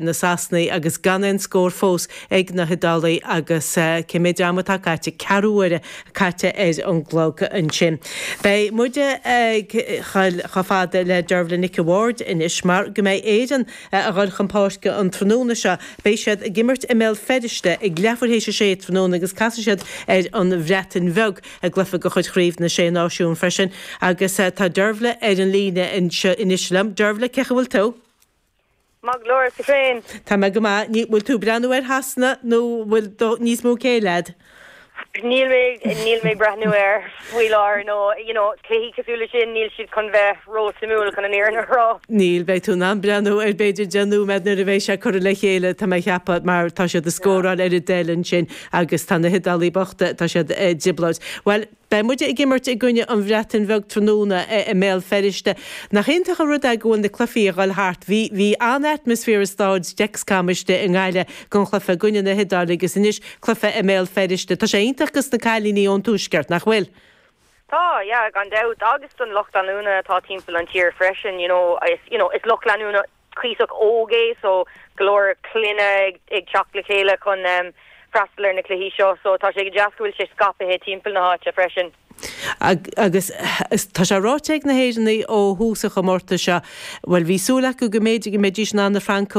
Na Sasanaigh agus gan aon scór fós ag na hIodálaigh agus cé méid ama atá caite? Ceathrú uaire caite ar an gclog ansin. Beidh muide ag dul chomh fada le Dervla Nic a' Bhaird anois mar go mbeidh Éirinn a dhul chun páirce an tráthnóna seo. Beidh siad ag imirt i mBéal Feirste ag leathuair théis a sé tráthnóna agus casfaidh siad ar an Bhreatain Bheag i gcluiche de chuid Chraobh na Sé Náisiún freisin agus tá Dervla ar an líne anois liom. Dervla, cén chaoi a bhfuil tú? Maith go leor, is tú féin? Tá mé go maith. Ní, bhfuil tú ag breathnú ar Shasana nó bhfuil do, níos mó céille a'd? Níl mé, níl mé ag breathnú air faoi láthair nó, you know, cluichí cosúil le sin, níl siad chun bheith ró-suimiúil chun an fhírinne a rá. Níl, beidh tú in ann breathnú air b'fhéidir 10 nóiméad nuair a bheidh sé curtha le chéile, tá mé a cheapadh, mar tá siad ag scóráil ar a dtoil ansin agus tá na hIodálaigh bochta, tá siad i dtrioblóid. Bhuel, Beidh muide ag imirt i gcoinne an Bhreatain Bheag tráthnóna i mBéal Feirste. Nach iontach an rud é go bhfuil na cluichí a dhul thart. Bhí, bhí an-atmaisféar i stáid Dexcom istigh i nGaillimh don chluiche i gcoinne na hIodáile agus anois cluiche i mBéal Feirste. Tá sé iontach dos na cailíní ón tuaisceart, nach bhfuil? Tá, yeah, gan dabht, agus don lucht leanúna atá timpeall an tír freisin, you know, is, you know, is lucht leanúna cuíosach óg é so go leor clainne ag teacht le chéile chun freastal ar na cluichí seo so tá sé go deas go bhfuil sé scaipthe timpeall na háite freisin. Agus tá sé ráite ag na hÉireannaigh ó thús an chomórtais seo, bhuel bhí súil acu go mb'fhéidir go mbeidís in ann na Francaigh.